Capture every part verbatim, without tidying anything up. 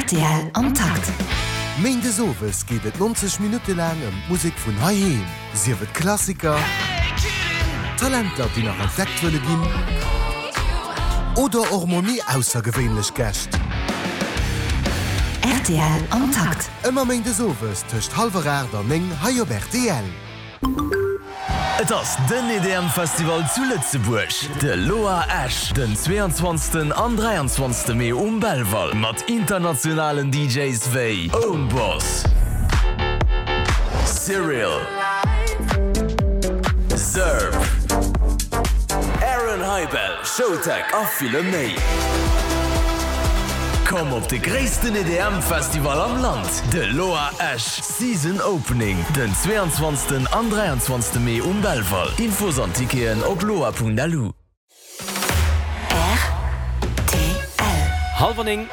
Rtl am Takt. Méindes owes geet et nonzeg Minutte laang ëm d'Musek vun heiheem, sief et Klassiker, Talenter, déi nach entdeckt wëlle ginn, oder och mol méi aussergewéinlech Gäscht. Rtl am Takt. Ëmmer méindes owes tëscht hallwer aacht an néng hei op rtl. Et ass den E D M Festival zu Lëtzebuerg, de L O A Esch, den zweeanzwanzegsten an dräianzwanzegste Mee um Belval mat internationalen D Js wéi Öwnboss, Cyril, Zerb, Aaron Hibell, Showtek a ville méi. Komm op de gréissten E D M Festival am Land, de L O A Esch Season Opening, den zweeanzwanzegsten an dräianzwanzegste Mee um Belval. Infos an Ticketen op loa Punkt L U. R T L. Hallwer néng.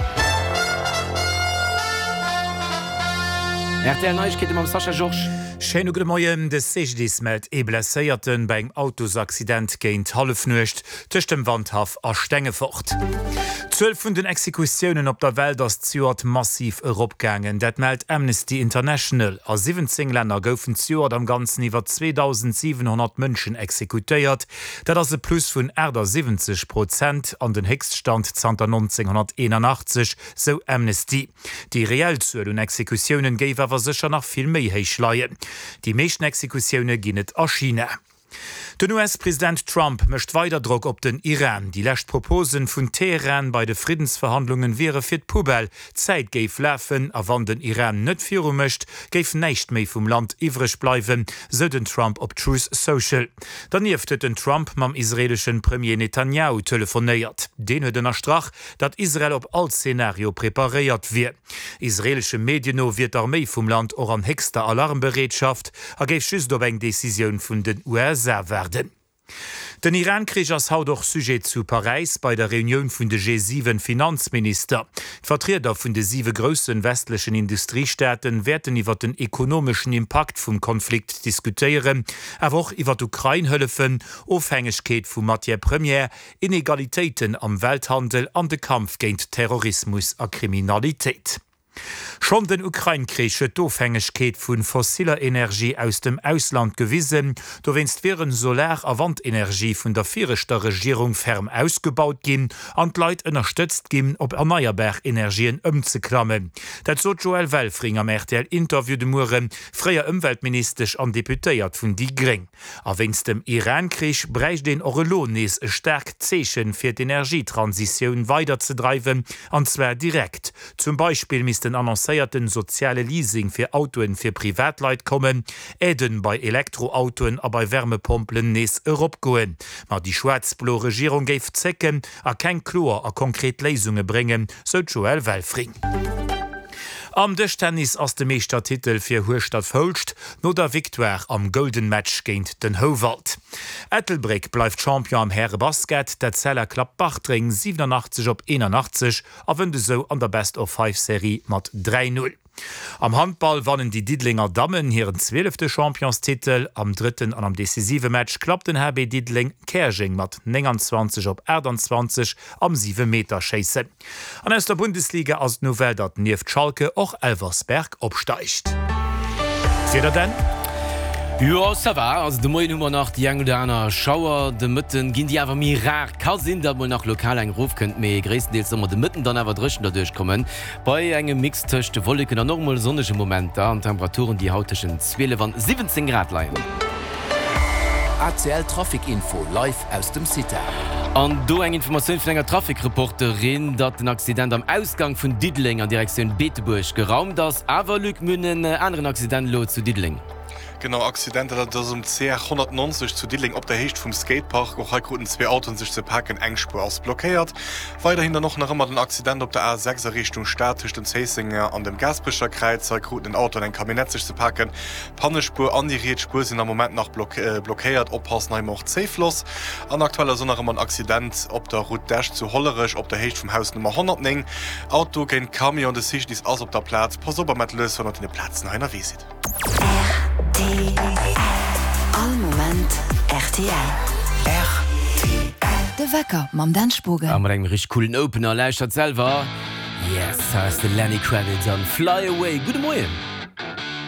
R T L Neiegkeete mam Sascha Georges. Schéine gudde Moien. De C G D I S mellt ee Blesséierten bei engem Autosaccident géint Hallefnuecht tëscht dem Wandhaff a Stengefort. D'Zuel vun den Exekutiounen op der Welt ass zejoert massiv eropgaangen. Dat mellt Amnesty International. A siwwenzéng Länner goufen zejoert am Ganzen iwwer zweedausendsiwenhonnert Mënschen exekutéiert. Dat ass e Plus vun achtasiwwenzeg Prozent an den Héchststand zanter nonzénghonnerteenanachtzeg, sou Amnesty. Déi reell Zuel un Exekutiounen géif awer sécher nach vill méi héich leien. Déi meeschten Exekutioune ginn et a China. Den U S-President Trump mécht weider Drock op den Iran. Déi lescht Proposen vun Teheran bei de Friddensverhandlungen wiere fir d'Poubelle. D'Zäit géif lafen a wann den Iran net viru mécht, géif näischt méi vum Land iwwreg bleiwen, sou den Trump op Truth Social. Dernieft huet den Trump mam israelesche Premier Netanyahu telefonéiert. Deen huet ënnerstrach, datt Israel op all Zenario preparéiert wier. Israelesche Medien no wier d'Arméi vum Land och an héchster Alarmbereetschaft a géif just op eng Decisioun vun den U S A waarden. Den Iran-Krich ass haut och Sujet zu Paräis bei der Reunioun vun de G siwen Finanzminister. D'Vertrieder vun de siwe grousse westlechen Industriestaaten wäerten iwwer den ekonomeschen Impakt vum Konflikt diskutéieren, awer och iwwer d'Ukrain-Hëllefen, Ofhängegkeet vu Matière première, Inegalitéiten am Welthandel an de Kampf géint Terrorismus a Kriminalitéit. Schonn den Ukrain-Krich huet d'Ofhängegkeet vu fossiller Energie aus dem Ausland gewisen. Dowéinst wieren Solar- a Wandenergie vun der viregter Regierung ferm ausgebaut ginn an d'Leit ënnerstëtzt ginn, op erneierbar Energien ëmzeklammen. Dat sot d'Joëlle Welfring am R T L-Interview de Mueren, fréier Ëmweltministesch an Deputéiert vun déi Gréng. A wéinst dem Iran-Krich bräicht een och elo nees e staarkt Zeechen, fir d'Energietransitioun weiderzedreiwen, an zwar direkt. Zum Beispill misst den annoncéierten soziale Leasing fir Autoen fir Privatleit kommen, Aiden bei Elektroautoen a bei Wärmepompelen nees eropgoen. Ma déi schwaarz-blo Regierung géif zécken a keng kloer a konkret Léisunge bréngen, sou d'Joëlle Welfring. Am Dëschtennis ass de Meeschtertitel fir Hueschtert-Foulscht no der Victoire am Golden Match géint den Houwald. Ettelbréck bleift Champion am Härebasket, d'Etzella klappt Bartreng siwenanachtzeg op eenanachtzeg a wënnt esou an der Best-of-Five-Serie mat dräi null. Am Handball wannen déi Diddelenger Dammen hiren zwielefte Championstitel. Am drëtten an am decisive Match klappt den H B Diddeleng Käerjeng mat nénganzwanzeg op aachtanzwanzeg am Siwemeterschéissen. An aus der Bundesliga ass d'Nouvelle, datt nieft Schalke och Elversberg opsteigt. D'Wieder dann? Jo, ça va. Also de Moien hu mer nach déi eng oder aner Schauer, de Mëtten ginn déi awer méi rar. Ka sinn, datt mol nach lokal eng erofkënnt, mee gréisstendeels soll mer de Mëtten dann awer dréchen derduerch kommen. Bei engem Mix tëscht Wolleken an och mol sonnege Momenter an Temperaturen, déi haut tëschent zwielef an siwwenzéng Grad leien. A C L Trafic Info live aus dem Cita. An do eng Informatioun vun enger Trafic-Reporterin, datt den Accident am Ausgang vun Diddeleng an Direktioun Beetebuerg geraumt ass. Awer Luc, mir hunn en aneren Accident elo zu Diddeleng. Genau, Accident, dat ass um C R honnertnonzeg zu Diddeleng op der Héicht vum Skatepark. Och hei kruten zwee Autoen sech ze paken, eng Spuer ass blockéiert. Weiderhin dann och nach ëmmer den Accident op der A sechs a Richtung Stad tëscht dem Zéissenger an dem Gaasperecher Kräiz. Hei kruten en Auto an eng Camionnette sech ze paken. D'Pannespuer an déi riets Spuer sinn am Moment nach blockéiert. Oppassen hei och Zéifloss. An aktuell ass och nach ëmmer en Accident op der Route d'Esch zu Hollerech op der Héicht vum Haus Nummer honnertnéng. Auto géint Camion, de C G D I S ass op der Plaz. Passt op a maacht lues, wann der op deene Plazen hei ënnerwee sidd. R T L. All Moment R T L. R T L. De Wecker mam Dan Spogen. A mat engem richteg coolen Opener. Lauschtert selwer. Yes, hei ass de Lenny Kravitz an Fly Away. Gudde Moien!